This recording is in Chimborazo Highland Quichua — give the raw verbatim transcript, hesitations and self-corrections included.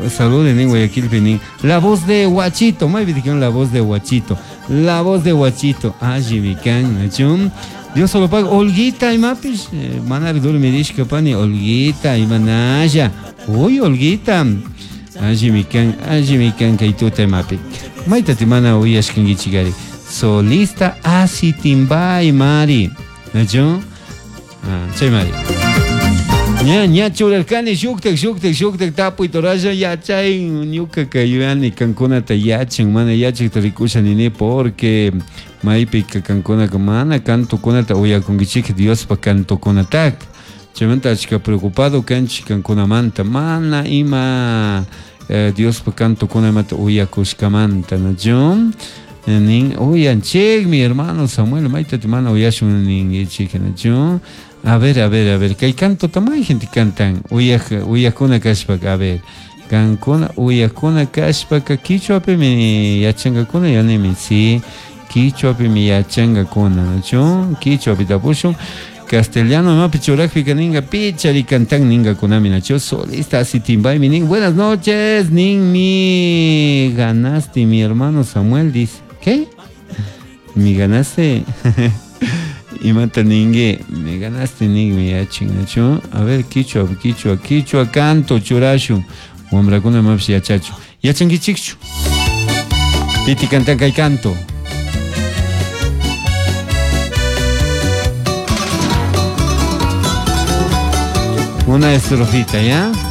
Salude nin Guayaquilpi nin. La voz de Huachito, maypi la voz de Huachito. La voz de Huachito. Allimi kan, nachu? Dios solo paga. Olguita imapish, eh, manari dormirishka pani Olguita imanalla. Uy, Olguita. Allimi kan, allimi kan kay tuta imapi. Maytati mana uyashkankichikari. Solista Asitimbay mari. Nachu? Ah, chay mari. Ña, ña churarkani shuktak shuktak shuktak tapuy toralla yachay ñuka yuyani kankunata yachan mana yachakta rikusha nini porque maypika kankunaka mana cantokunata uyakunkichik Diospa cantokunataka chaymanta achka preocupado kanchik kankunamanta mana ima eh, Diospa cantokunamanta uyakushkamanta nachu nin uyanchikmi hermano Samuel maytati mana uyashun ninkichik nachu. A ver, a ver, a ver, kay canto may gente cantan, uyaj, uyajkuna kashpaka, a ver, kankuna, uyajkuna kashpaka, kichwapimi yachankakuna, yanimi, sí, kichwapimi yachankakuna, nachu, kichwapi tapushun, castellano imapi churajpika ninga, pichari cantan ningakunami, nachu, solista Asitimbaymi nin, buenas noches, nin mi ganaste, mi hermano Samuel dice, ¿qué? ¿Mi ganaste? Imata ningue, me ganaste ningue yachin, nachu. A ver, kichwa, kichwa, kichwa canto churashu. Wamrakuna mapis yachachu. Yachankichikchu. Piti cantan kay canto. Una estrofita, ¿ya?